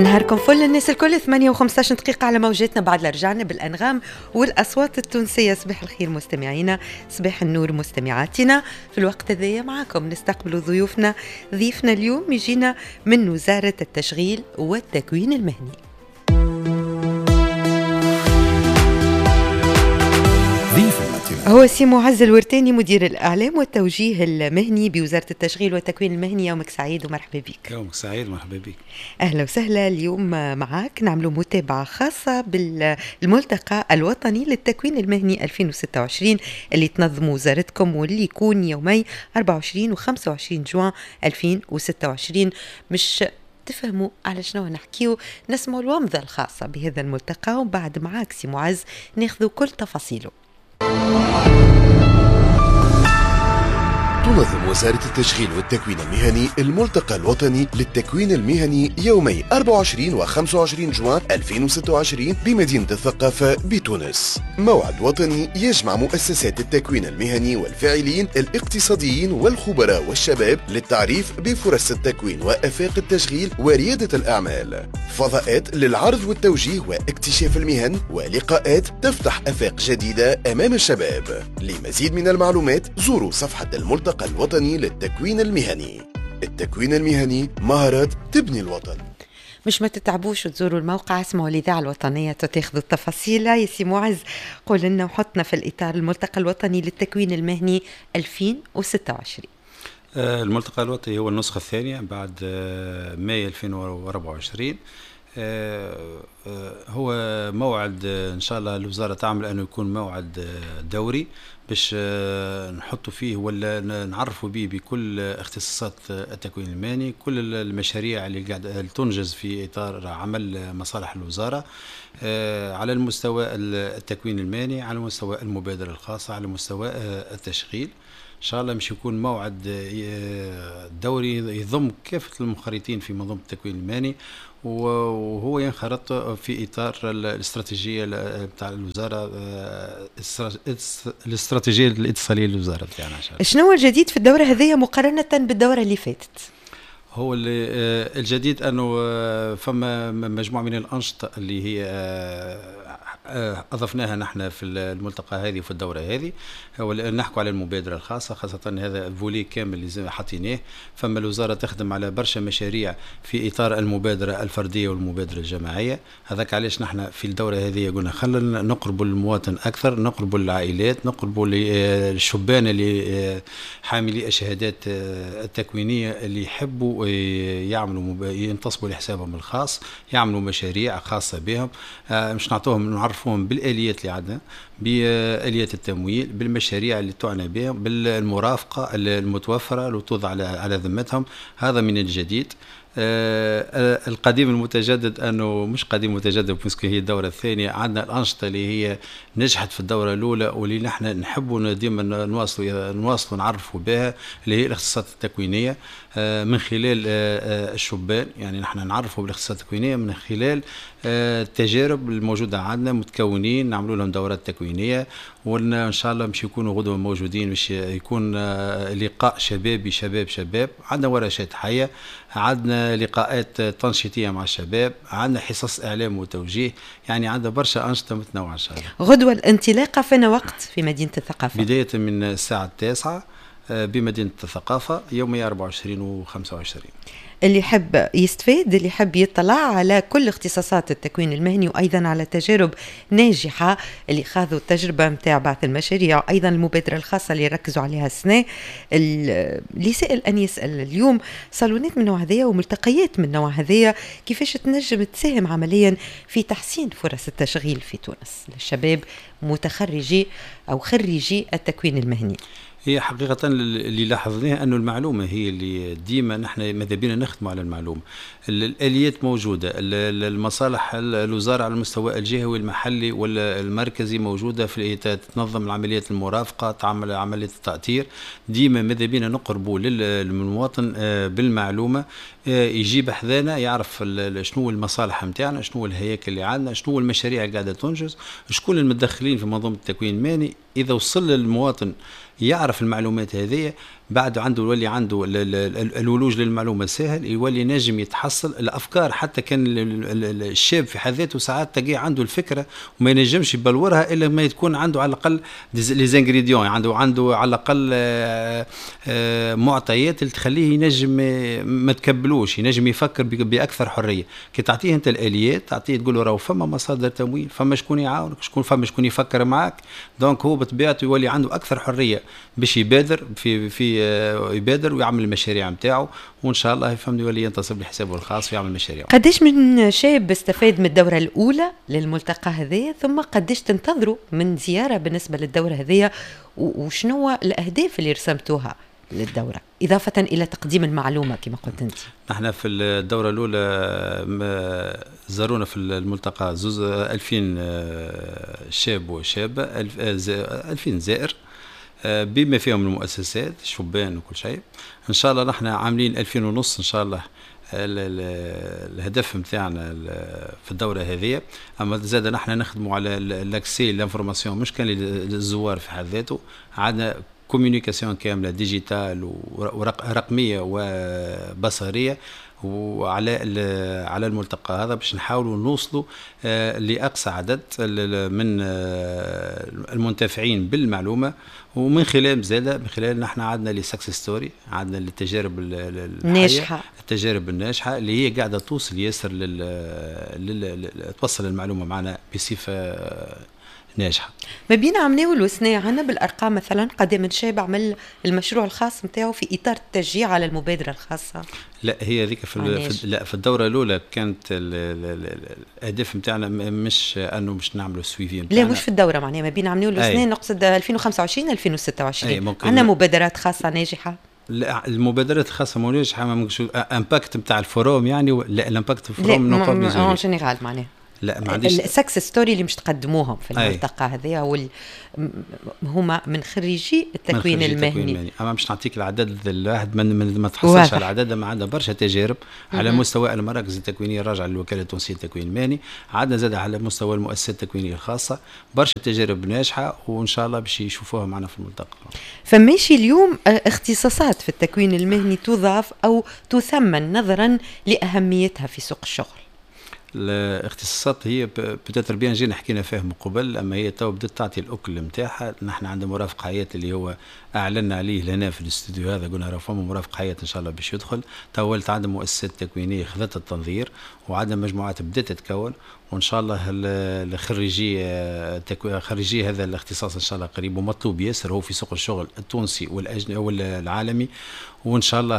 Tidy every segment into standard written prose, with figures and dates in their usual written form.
نهاركم فل الناس الكل، 8:15 دقيقة على موجاتنا بعد رجعنا بالأنغام والأصوات التونسية. صباح الخير مستمعينا، صباح النور مستمعاتنا. في الوقت هذايا معاكم نستقبل ضيوفنا. ضيفنا اليوم يجينا من وزارة التشغيل والتكوين المهني. هو سي معز الورتاني، مدير الإعلام والتوجيه المهني بوزارة التشغيل والتكوين المهني. يومك سعيد ومرحبا بك. يومك سعيد، مرحبا بك. أهلا وسهلا. اليوم معاك نعملوا متابعة خاصة بالملتقى الوطني للتكوين المهني 2026 اللي تنظم وزارتكم واللي يكون يومي 24 و 25 جوان 2026. مش تفهموا على شنو نحكيو، نسمعوا الومضة الخاصة بهذا الملتقى وبعد معاك سي معز ناخذ كل تفاصيله. تنظم وزارة التشغيل والتكوين المهني الملتقى الوطني للتكوين المهني يومي 24 و 25 جوان 2026 بمدينة الثقافة بتونس. موعد وطني يجمع مؤسسات التكوين المهني والفاعلين الاقتصاديين والخبراء والشباب للتعريف بفرص التكوين وآفاق التشغيل وريادة الأعمال. فضاءات للعرض والتوجيه واكتشاف المهن ولقاءات تفتح آفاق جديدة أمام الشباب. لمزيد من المعلومات زوروا صفحة الملتقى الوطني للتكوين المهني. التكوين المهني مهارات تبني الوطن. مش ما تتعبوش وتزوروا الموقع، اسمعوا الإذاعة الوطنية تاخذوا التفاصيل. يا سي معز قول لنا وحطنا في الإطار الملتقى الوطني للتكوين المهني 2026. الملتقى الوطني هو النسخة الثانية بعد ماي 2024. هو موعد إن شاء الله الوزارة تعمل أنه يكون موعد دوري باش نحطوا فيه ولا نعرفوا به بكل اختصاصات التكوين المهني، كل المشاريع اللي قاعدة تنجز في إطار عمل مصالح الوزارة على المستوى التكوين المهني، على مستوى المبادرة الخاصة، على مستوى التشغيل. إن شاء الله مش يكون موعد دوري يضم كافة المنخرطين في منظومة التكوين المهني، وهو ينخرط في إطار الاستراتيجية بتاع الوزارة، الاستراتيجية الاتصالية للوزارة بتاعنا. شنو هو الجديد في الدورة هذه مقارنة بالدورة اللي فاتت؟ هو الجديد أنه فما مجموعة من الأنشطة اللي هي أضفناها نحن في الملتقى هذه وفي الدورة هذه. هو نحكوا على المبادرة الخاصة، خاصة هذا volet كامل اللي حطيناه. فما الوزارة تخدم على برشا مشاريع في إطار المبادرة الفردية والمبادرة الجماعية. هذاك علاش نحن في الدورة هذه قلنا خلينا نقربوا للمواطن أكثر، نقربوا للعائلات، نقربوا للشبان اللي حاملي الشهادات التكوينية اللي يحبوا يعملوا ينتصبوا لحسابهم الخاص، يعملوا مشاريع خاصة بهم. مش نعطوهم، نعرفوهم بالآليات اللي عندنا، بآليات التمويل، بالمشاريع اللي تعنى بهم، بالمرافقة المتوفرة اللي توضع على ذمتهم. هذا من الجديد. القديم المتجدد أنه مش قديم متجدد parce que هي الدورة الثانية. عندنا الأنشطة اللي هي نجحت في الدورة الأولى واللي نحن نحبوا ديما نواصلوا نعرفوا بها، اللي هي الاختصاصات التكوينية من خلال الشبان. يعني نحن نعرفوا بالاختصاصات التكوينية من خلال التجارب الموجودة عندنا، متكونين نعملوا لهم دورات تكوينية، وإن شاء الله مش يكونوا غدوة موجودين، مش يكون لقاء شبابي شباب شباب. عندنا ورشات حية، عندنا لقاءات تنشيطية مع الشباب، عندنا حصص إعلام وتوجيه، يعني عندنا برشا أنشطة متنوعة إن شاء الله. غدوة الانطلاقة فين وقت في مدينة الثقافة؟ بداية من الساعة 9 بمدينة الثقافة يوم 24 و 25. اللي يحب يستفيد، اللي يحب يطلع على كل اختصاصات التكوين المهني وأيضا على تجارب ناجحة اللي خاضوا التجربة متاع بعث المشاريع، أيضا المبادرة الخاصة اللي ركزوا عليها السنة. اللي سأل أن يسأل اليوم، صالونات من نوع هذايا وملتقيات من نوع هذايا كيفاش تنجم تساهم عمليا في تحسين فرص التشغيل في تونس للشباب متخرجي أو خريجي التكوين المهني؟ هي حقيقة اللي لاحظناه أنه المعلومة هي اللي ديما نحن ماذا بينا نخدموا على المعلومة. الآليات موجودة، المصالح الوزارة على المستوى الجهوي المحلي والمركزي موجودة في تنظم العمليات المرافقة، تعمل عملية التأطير. ديما ماذا بينا نقربوا للمواطن بالمعلومة، يجيب حذانا يعرف شنو المصالح نتاعنا، شنو الهياكل اللي عندنا، شنو المشاريع اللي قاعدة تنجز، شكون المتدخلين في منظومة التكوين المهني. إذا وصل للمواطن يعرف المعلومات هذه بعد عنده يولي عنده الولوج للمعلومة سهل، يولي نجم يتحصل الافكار. حتى كان الشاب في حد ذاته ساعات تلقاه عنده الفكرة وما ينجمش يبلورها الا ما تكون عنده على الاقل les ingrédients، عنده على الاقل معطيات اللي تخليه ينجم ما تكبلوش، ينجم يفكر باكثر حرية. كي تعطيه انت الاليات، تعطيه تقول له راهو فما مصادر تمويل، فما شكون يعاونك، شكون فما شكون يفكر معك، donc هو بطبيعته يولي عنده اكثر حرية باش يبادر في يبادر ويعمل المشاريع نتاعو، وان شاء الله يفهم يولي ينتصب لحسابه الخاص ويعمل مشاريع. قداش من شاب استفاد من الدورة الاولى للملتقى هذايا، ثم قداش تنتظروا من زيارة بالنسبة للدورة هذيا، وشنو الاهداف اللي رسمتوها للدورة اضافه الى تقديم المعلومة كما قلت انت؟ نحن في الدورة الاولى زارونا في الملتقى زوز 2000 شاب وشابه، 2000 زائر بما فيهم المؤسسات، شبان وكل شيء. ان شاء الله نحن عاملين 2500 ان شاء الله الهدف نتاعنا في الدورة هذه. اما زاد نحن نخدموا على l'accès l'information، مش كان للزوار في حد ذاته، عندنا communication كاملة digitale ورقميه وبصريه وعلى على الملتقى هذا باش نحاولوا نوصلوا لاقصى عدد من المنتفعين بالمعلومه. ومن خلال زاد من خلال نحن عندنا les success stories، عندنا التجارب الناجحه، التجارب الناجحة اللي هي قاعدة توصل ياسر توصل المعلومة معنا بصفة ناجحة. ما بين عمناول وسنة عنا بالارقام مثلا قداه من شاب عمل المشروع الخاص نتاعو في اطار التشجيع على المبادرة الخاصة؟ لا، هي هذيك في, لا، في الدورة الاولى كانت الاهداف نتاعنا مش انه مش نعملوا suivi. لا، مش في الدوره، معناها ما بين عمناول وسنة، نقصد 2025 2026، عندنا مبادرات خاصة ناجحه؟ لا، المبادرات الخاصة ناجحة ما impact نتاع ال forum يعني، لا، ال impact ال forum non pas en général معناها. لا، ما عنديش. ال success story اللي مش تقدموهم في الملتقى هذا هما من خريجي التكوين من المهني. المهني. اما مش نعطيك العدد الواحد من ما تحصلش على العدد، ما عندنا برشا تجارب على مستوى المراكز التكوينيه الراجعة للوكاله التونسية للتكوين المهني، عندنا زاد على مستوى المؤسسات التكوينيه الخاصة برشا تجارب ناجحه، وان شاء الله باش يشوفوها معنا في الملتقى. فماشي اليوم اختصاصات في التكوين المهني تضاف او تثمن نظرا لاهميتها في سوق الشغل؟ الاختصاصات هي peut-être bien جينا حكينا فيها من قبل، اما هي تو بدات تعطي الاكل نتاعها. نحن عندنا مرافق حياة اللي هو اعلنا عليه لنا في الاستوديو هذا، قلنا راه فما مرافق حياة ان شاء الله باش يدخل. تو ولت عندنا مؤسسات تكوينيه خذت التنظير، وعندنا مجموعات بدات تتكون، وان شاء الله الخريجي خريجي هذا الاختصاص ان شاء الله قريب، ومطلوب ياسر هو في سوق الشغل التونسي والاجنبي والعالمي، وان شاء الله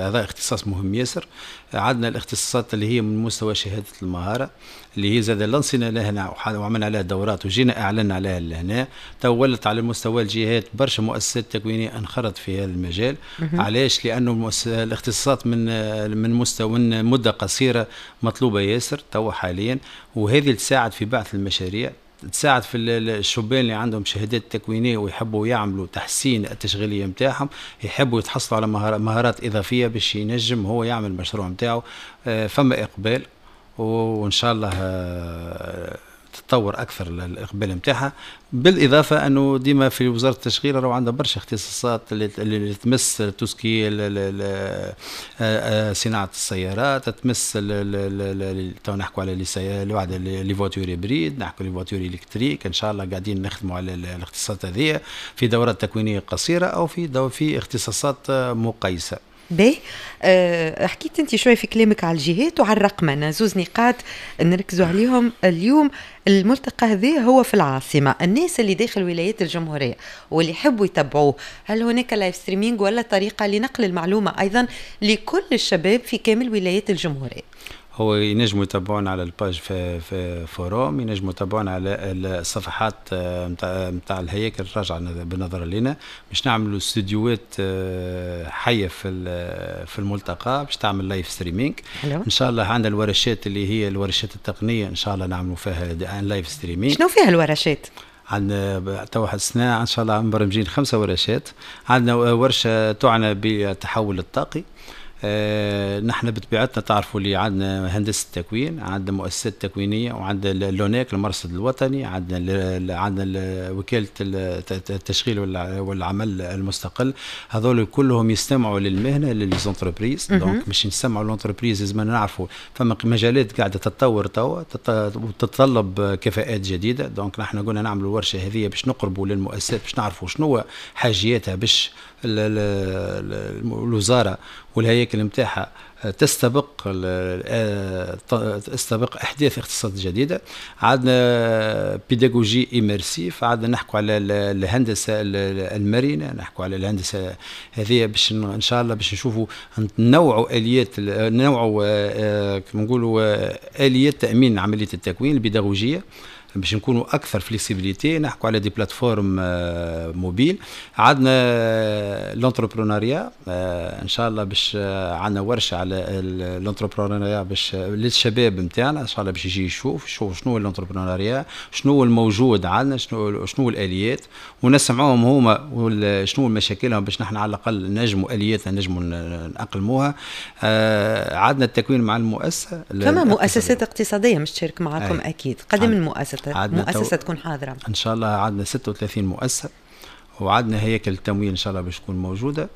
هذا اختصاص مهم ياسر. عندنا الاختصاصات اللي هي من مستوى شهادة المهارة اللي هي زاد لانسينا لهنا وعملنا عليها دورات وجينا اعلنا عليها لهنا. تو ولت على مستوى الجهات برشا مؤسسات تكوينيه انخرط في هذا المجال. علاش؟ لانه الاختصاصات من مستوى من مده قصيرة مطلوبه ياسر تو حاليا، وهذه تساعد في بعث المشاريع، تساعد في الشبان اللي عندهم شهادات تكوينيه ويحبوا يعملوا تحسين التشغيلية نتاعهم، يحبوا يتحصلوا على مهارات اضافية باش ينجم هو يعمل المشروع نتاعو. فما اقبال، وان شاء الله تتطور اكثر الاقبال نتاعها. بالاضافة انه ديما في وزارة التشغيل راهو عندها برشا اختصاصات اللي تمس tout ce qui صناعة السيارات، تمس تو نحكوا على les voitures hybrides، نحكوا les voitures électriques. ان شاء الله قاعدين نخدموا على الاختصاصات هذه في دورات تكوينيه قصيرة او في اختصاصات مقيسه. باهي، حكيت انت شوي في كلامك على الجهات وعلى الرقمنه، زوز نقاط نركزوا عليهم اليوم. الملتقى هذا هو في العاصمه، الناس اللي داخل ولايات الجمهورية واللي يحبوا يتبعوه، هل هناك live streaming ولا طريقه لنقل المعلومة ايضا لكل الشباب في كامل ولايات الجمهورية؟ هو ينجموا يتابعونا على ال page في forum، ينجموا يتابعونا على الصفحات نتاع الهياكل الراجعة بالنظر لنا، باش نعملوا استديوهات حيه في الملتقى باش تعمل live streaming. ان شاء الله عندنا الورشات اللي هي الورشات التقنيه، ان شاء الله نعملوا فيها live streaming. شنو فيها الورشات؟ عندنا تو واحد السنة ان شاء الله مبرمجين 5 ورشات. عندنا ورشه تعنى بالتحول الطاقي. نحن بطبيعتنا تعرفوا اللي عندنا هندسة التكوين، عندنا مؤسسات تكوينيه، وعندنا l'ONEC المرصد الوطني، عندنا وكالة التشغيل والعمل المستقل. هذول كلهم يستمعوا للمهنه، ل les entreprises. donc باش نسمعوا l'entreprise لازم نعرفوا فما مجالات قاعدة تتطور توا وتتطلب كفاءات جديده. donc نحن قلنا نعملوا الورشة هذه باش نقربوا للمؤسسات، باش نعرفوا شنو حاجياتها، باش الوزارة والهياكل نتاعها تستبق احداث اختصاصات جديده. عندنا pédagogie immersive، عندنا نحكوا على الهندسة المرنه، نحكوا على الهندسة هذه باش ان شاء الله باش نشوفوا نوعوا اليات، نوعوا كما نقولوا اليات تامين عملية التكوين البيداغوجيه باش نكونوا اكثر flexibilité. نحكوا على des plateformes mobiles. عندنا l'entrepreneuriat، ان شاء الله باش عندنا ورشه على l'entrepreneuriat باش للشباب نتاعنا، ان شاء الله باش يجي يشوف شنو هو l'entrepreneuriat، شنو هو الموجود عندنا، شنو الاليات، ونسمعوهم هما شنو مشاكلهم باش نحن على الاقل نجموا الياتنا نجموا نأقلموها. عندنا التكوين مع المؤسسه. فما مؤسسات اقتصادية مش تشارك معكم؟ اكيد. قداه من مؤسسة تكون حاضره؟ ان شاء الله عندنا 36 مؤسسه، وعندنا هياكل التمويل ان شاء الله باش تكون موجوده،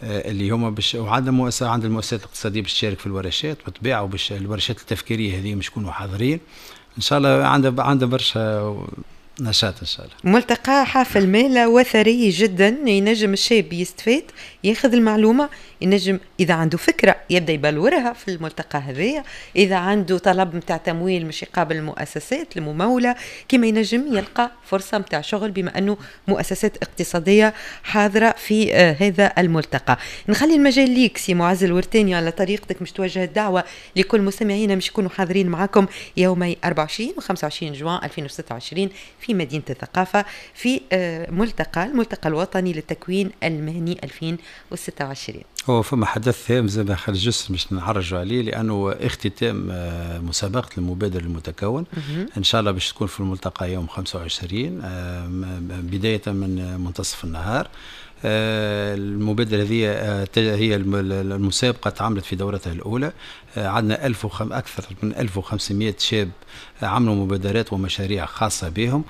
اللي هما باش وعندنا مؤسسه، عند المؤسسات الاقتصادية باش تشارك في الورشات بالطبيعه، وباش الورشات التفكيريه هذه باش يكونوا حاضرين ان شاء الله. عندنا برشا نشاط ان شاء الله. ملتقى حافل مالة وثري جدا، ينجم الشاب يستفاد، ياخذ المعلومه، ينجم اذا عنده فكرة يبدا يبلورها في الملتقى هذايا، اذا عنده طلب نتاع تمويل مش يقابل المؤسسات المموله، كما ينجم يلقى فرصة نتاع شغل بما انه مؤسسات اقتصادية حاضره في هذا الملتقى. نخلي المجال ليك سي معز الورتاني على طريقتك مش توجه الدعوة لكل مستمعينا مش يكونوا حاضرين معكم يومي 24 و 25 جوان 2026 في مدينة الثقافة في الملتقى الوطني للتكوين المهني 2026. هو فما حدث هام زي ما خرج juste باش نعرجوا عليه، لانه اختتام مسابقة المبادر المتكون ان شاء الله باش تكون في الملتقى يوم 25 بداية من منتصف النهار. المبادرة هذه هي المسابقة تعملت في دورتها الأولى، عندنا أكثر من 1500 شاب عملوا مبادرات ومشاريع خاصة بهم.